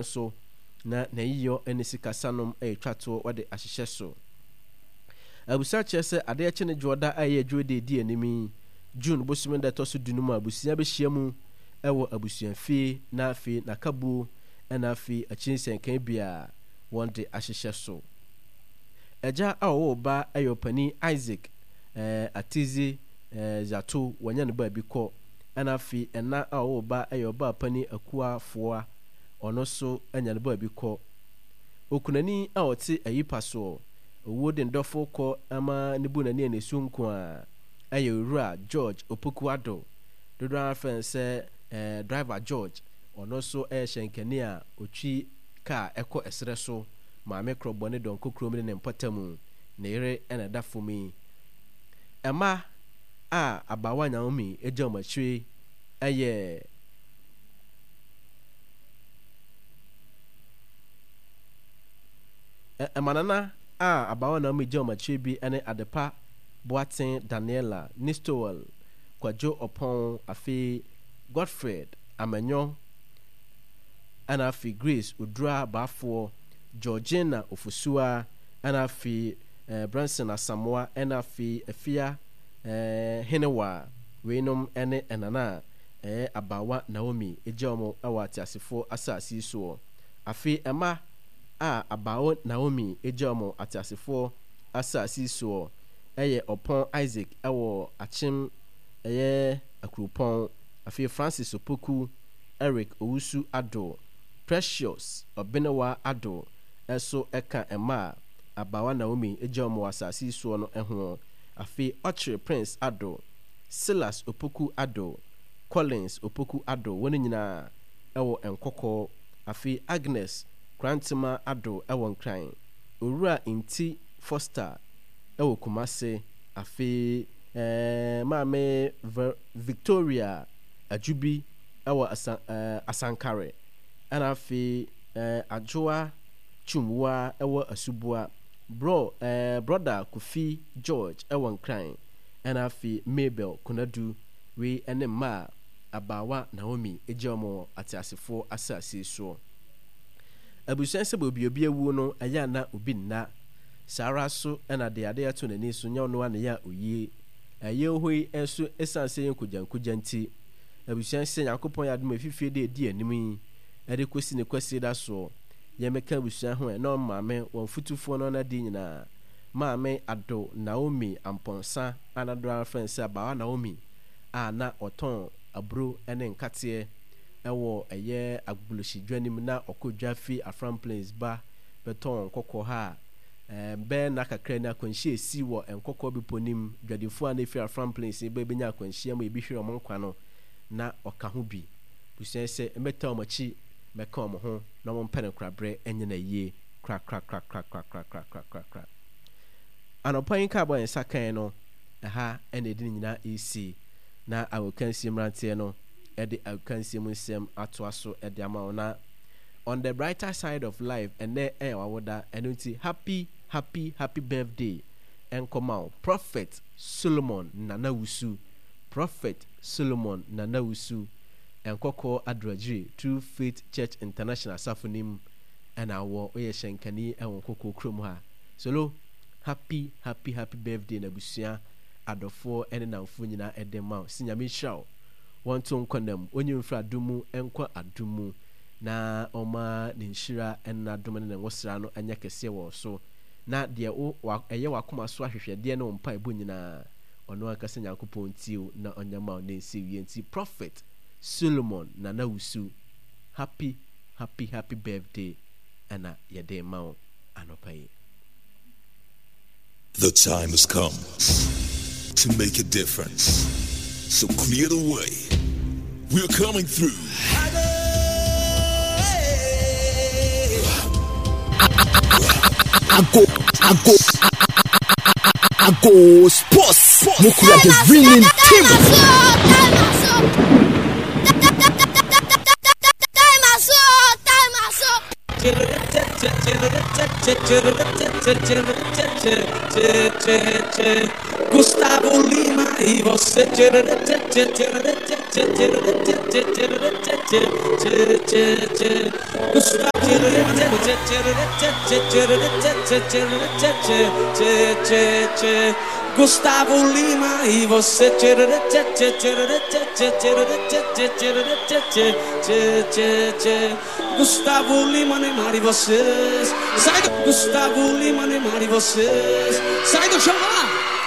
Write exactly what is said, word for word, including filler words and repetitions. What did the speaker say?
So na n'ayiyɔ ne sikasanom retwa toɔ wɔde ahyehyɛ so. Abusua kyerɛ sɛ adeɛ kye ne dwoɔda a ɛyɛ dwoɔda ɛdi anim yi, June bosome da ɛtɔ so du no mu a abusua bɛhyia mu wɔ abusuafie na afei n'akabuo na afei akyiri nsɛnkae biara wɔde ahyehyɛ so. Agya a ɔwɔ ba yɛ ɔpanin Isaac eh, Atizi eh, Zato, wanya no baabi kɔ. Ɛna afei ɛna a ɔwɔ ba yɛ ɔbaa panin Akua Foa, ɔno nso anya no baabi kɔ. Okunani a ɔte ayipa soɔ, owuo de ndɔfo kɔ ama ne bu n'ani a n'esu nko ara, yɛ Owura George Opoku Addo, dodoɔ ara frɛ no sɛ eh, Driver George, ɔno nso yɛ hyɛnkani a ɔtwi kaa kɔ ɛserɛ so, Maame Korɔbɔ ne Dɔnko kurom ne ne mpɔtamu, ne yere na ɛda fam yi. Mma a abaawa Naomi gya wɔn akyire yɛ. Mmanana a abaawa Naomi gya wɔn akyire bi ne Adepa Boateng Daniela, Nistowel Kwadwo Ɔpɔn, afei Godfred Amanyɔ, ɛna afei Grace Odura Baafoɔ, Georgina Ofosua, ɛna afei eh, Branson Asamoah, ɛna afei Afia eh, Henewa. Weinom ne ɛnana a ɛyɛ abaawa Naomi gya wɔn wɔ ateasefoɔ asase yi soɔ. Afei mma a abaawa Naomi gya wɔn ateasefoɔ asase yi soɔ yɛ Ɔpɔn Isaac wɔ Akyem ɛyɛ Akuropɔn, afei Francis Opoku, Eric Owusu Addo, Precious Ɔbenewa Addo nso ka mma a abaawa Naomi gya wɔn wɔ asase yi soɔ no ho. Afei Ɔkyere Prince Addo, Silas Opoku Addo, Collins Opoku Addo, wɔn nyinaa wɔ Nkɔkɔɔ. Afei Agnes Korantema Addo wɔ Nkran, Owura Nti Foster wɔ Kumase, afei eh, Maame Ver Victoria Adjubi wɔ Asa eh, Asankare, ɛna afei eh, Adwoa Twumwaa wɔ Asubua, Bro eh, Brɔda Kofi George wɔ Nkran, ɛna afei Mabel Konadu. Wei ne mma a abaawa Naomi gyaa wɔn wɔ ateasefoɔ asase soɔ. Abusua sɛ baabi obi awuo no, ɛyɛ a na obi nna. Saa ara nso na deɛ adeɛ ato n'ani so nyɛ ɔno ara na ɛyɛ a ɔyie. Ɛyɛ hɔ yi nso ɛsiane sɛ ɛyɛ nkogyankogya nti, abusua sɛ Nyankopɔn yɛ adom a ɛfifie de ɛdi anim yi de kɔsi ne Kwasida soɔ, yɛmmɛka abusua ho ɛ, na wɔn maame, wɔn fotufoɔ ne wɔn adeɛ nyinaa, Maame Ado Naomi Amponsah a na dodoɔ ara frɛ no sɛ Abaawa Naomi a na ɔtɔn aburo ne nkateɛ wɔ ɛyɛ Agbogbloshie dwa no mu na ɔkɔ dwa firi Afram Plains ba bɛtɔn nkɔkɔɔ ha a bɛyɛ nna kakra ni akwanhyia a ɛsii wɔ Nkɔkɔɔ Bepɔ no mu, dwadifoɔ a na ɛfiri Afram Plains ba bɛnya akwanhyia mu ebi hwere wɔn nkwa no na ɔka ho bi. Busua yi sɛ mmɛtaa wɔn akyi mmɛka wɔn ho na wɔmpɛ no koraberɛ nyɛ no ayie korakorakorakorakorakorakorakora. Anɔpa yi nkaebɔ a yɛn nsa kae no, ɛha na ɛde ne nyinaa resi na agokansie mmeranteɛ no de agokansie mu nsɛm atoa so de ama wo na On the brighter side of life ɛnɛ ɛyɛ w'awoda ɛno nti happy happy happy birthday ɛnkɔma wo Prophet Solomon Nana Wusu Prophet Solomon Nana Wusu Nkɔkɔɔ Adoragyiri True Faith Church International asafo no mu ɛna wɔ woyɛ hyɛnkani ɛwɔ Nkɔkɔɔ kurom ha Solo happy happy happy birthday na abusua adɔfoɔ ɛne namfoɔ nyinaa ɛde ma wo si Nyame nhyira wo wɔnto nkɔ nam onyi mfiri adom mu nkɔ adom mu na ɔmma ne nhyira ne n'adom ne ne ngosra no nyɛ kɛseɛ wɔ wo so, na deɛ wo, wa, ɛyɛ w'akoma so ahwehwɛdeɛ ne wo mpaebɔ nyinaa, ɔno ankasa Nyankopɔn ntie wo na ɔnyɛ ma wo na ɛnsi wie. Nti Prophet Solomon Nana Wusu, happy, happy, happy birthday ɛna yɛde rema wo anɔpa yi. The time has come to make a difference. So clear the way. We're coming through. Ago, ago, ago, sports. Mukura the winning team. Gusttavo Lima e você. Gusttavo Lima e você. Gusttavo Lima, Neymar e vocês. Sai do Gusttavo Lima, Neymar e vocês. Sai do chão, vai lá.